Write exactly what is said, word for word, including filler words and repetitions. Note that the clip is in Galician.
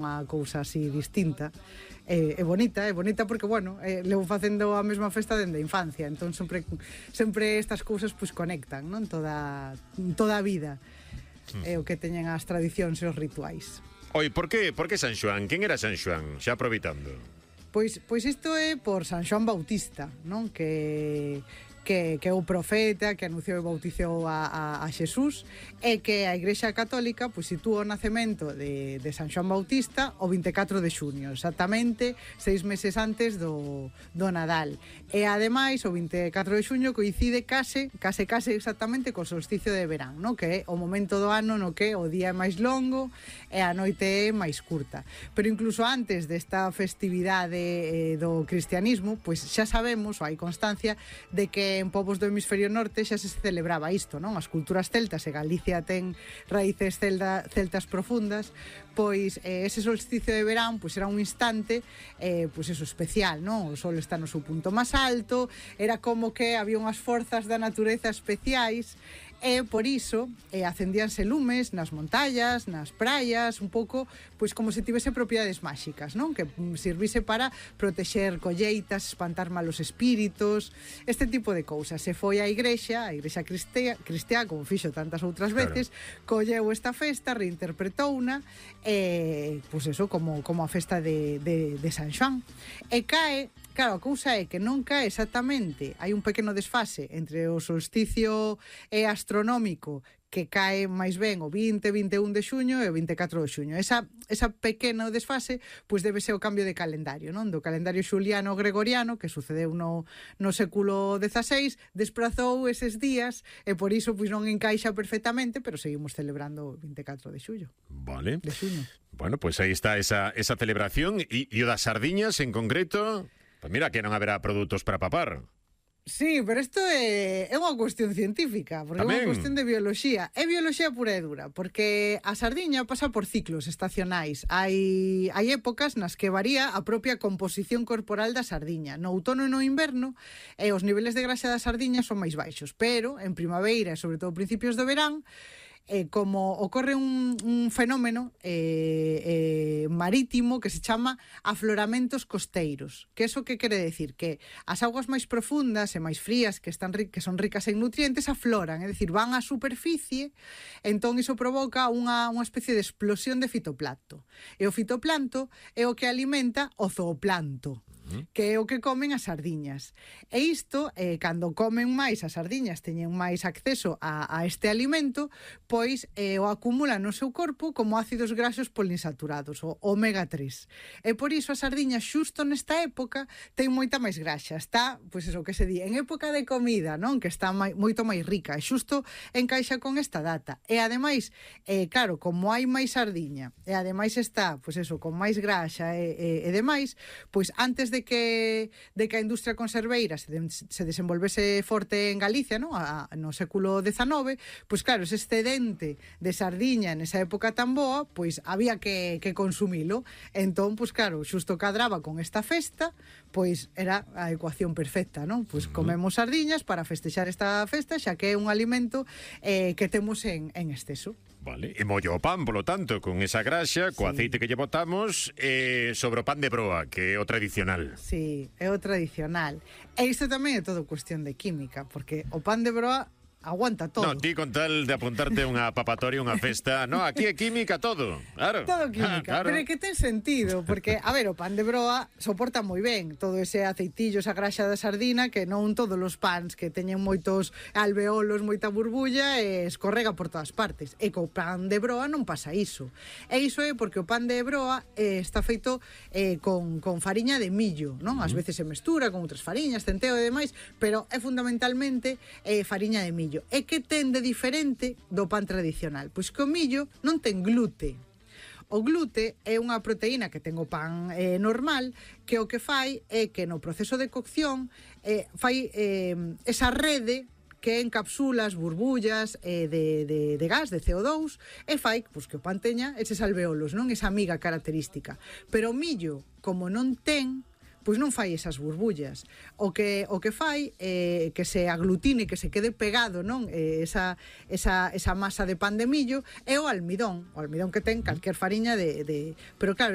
unha cousa así distinta. É, é bonita, é bonita porque, bueno, eh, levo facendo a mesma festa dende a infancia, entón sempre sempre estas cousas pois conectan, non? Toda toda a vida. É o que teñen as tradicións e os rituais. Oi, por que, por que San Xoán? Quen era San Xoán? Xa aproveitando. Pois pois isto é por San Xoán Bautista, non? Que que, que é o profeta que anunciou e bautizou a, a, a Xesús, e que a Igrexa Católica pois sitúa o nacemento de, de San Xoán Bautista o vinte e catro de xuño, exactamente seis meses antes do, do Nadal. E ademais o vinte e catro de xuño coincide case, case case exactamente co solsticio de verán, no? Que é o momento do ano no que o día é máis longo e a noite é máis curta. Pero incluso antes desta festividade eh, do cristianismo, pois xa sabemos, ou hai constancia, de que en povos do hemisferio norte xa se celebraba isto, non? As culturas celtas, e Galicia ten raíces celda, celtas profundas, pois eh, ese solsticio de verán pois era un instante eh, pois eso, especial, non? O sol está no seu punto máis alto, era como que había unhas forzas da natureza especiais, e por iso eh, acendíanse lumes nas montallas, nas praias, un pouco pois como se tivese propiedades máxicas, non? Que servise para protexer colleitas, espantar malos espíritos, este tipo de cousas. Se foi a igrexa, a igrexa cristiá, cristiá como fixo tantas outras veces, claro, colleu esta festa, reinterpretouna, e pois eso, como, como a festa de, de, de San Xoán. E cae. Claro, a cousa é que non cae exactamente, hai un pequeno desfase entre o solsticio e astronómico que cae máis ben o vinte, vinte e un de xuño e o vinte e catro de xuño. Esa, esa pequeno desfase pois debe ser o cambio de calendario, non? Do calendario xuliano gregoriano, que sucedeu no, no século dezaseis, desprazou eses días e por iso pois non encaixa perfectamente, pero seguimos celebrando o vinte e catro de xullo. Vale. De xuño. Bueno, pois pues aí está esa, esa celebración. E, e o das sardiñas en concreto... Pues mira que non haberá produtos para papar. Sí, pero isto é, é unha cuestión científica, porque Tamén. é unha cuestión de bioloxía. É bioloxía pura e dura, porque a sardiña pasa por ciclos estacionais. Hai, hai épocas nas que varía a propia composición corporal da sardiña. No outono e no inverno, eh, os niveles de graxa da sardiña son máis baixos, pero en primavera e sobre todo principios do verán, Eh, como ocorre un, un fenómeno eh, eh, marítimo que se chama afloramentos costeiros. Que eso que quere decir? Que as augas máis profundas e máis frías, que están que son ricas en nutrientes, afloran, é dicir, van á superficie, entón iso provoca unha, unha especie de explosión de fitoplancto. E o fitoplancto é o que alimenta o zooplanto, que é o que comen as sardiñas. E isto, eh, cando comen máis as sardiñas, teñen máis acceso a, a este alimento, pois eh, o acumulan no seu corpo como ácidos graxos poliinsaturados, o omega tres. E por iso a sardiña xusto nesta época ten moita máis graxa. Está, pois eso que se di, en época de comida, non? Que está mai, moito máis rica. E xusto encaixa con esta data. E ademais, eh, claro, como hai máis sardiña, e ademais está, pois eso, con máis graxa e, e, e demais, pois antes de que de que a industria conserveira se, de, se desenvolvese forte en Galicia, non? A, no século dezanove, pois claro, ese excedente de sardiña nesa época tan boa, pois había que, que consumilo. Entón, pois claro, xusto cadraba con esta festa, pois era a ecuación perfecta, non? Pois comemos sardiñas para festexar esta festa, xa que é un alimento eh, que temos en, en exceso. Vale, e mollo o pan, polo tanto, con esa graxa, co sí. aceite que lle botamos, eh, sobre o pan de broa, que é o tradicional. Sí, é o tradicional. E isto tamén é todo cuestión de química, porque o pan de broa aguanta todo. No, ti con tal de apuntarte unha papatoria, unha festa, no, aquí é química todo, claro. Todo química, ah, claro. Pero é que ten sentido, porque, a ver, o pan de broa soporta moi ben todo ese aceitillo, esa graxa da sardina, que non todos os pans que teñen moitos alveolos, moita burbulla, e escorrega por todas partes. E co pan de broa non pasa iso. E iso é porque o pan de broa eh, está feito eh, con, con fariña de millo, non? Ás veces se mestura con outras fariñas, centeo e demais, pero é fundamentalmente eh, fariña de millo. E que ten de diferente do pan tradicional? Pois que o millo non ten glute. O glute é unha proteína que ten o pan eh, normal, que o que fai é que no proceso de cocción eh, fai eh, esa rede que encapsula as burbullas eh, de, de, de gas, de C O dous, e fai pois, que o pan teña eses alveolos, non? Esa amiga característica. Pero o millo, como non ten, pois non fai esas burbullas. O que o que fai é eh, que se aglutine, que se quede pegado, non? Eh, esa, esa, esa masa de pan de millo é o almidón, o almidón que ten calquer fariña de, de... pero claro,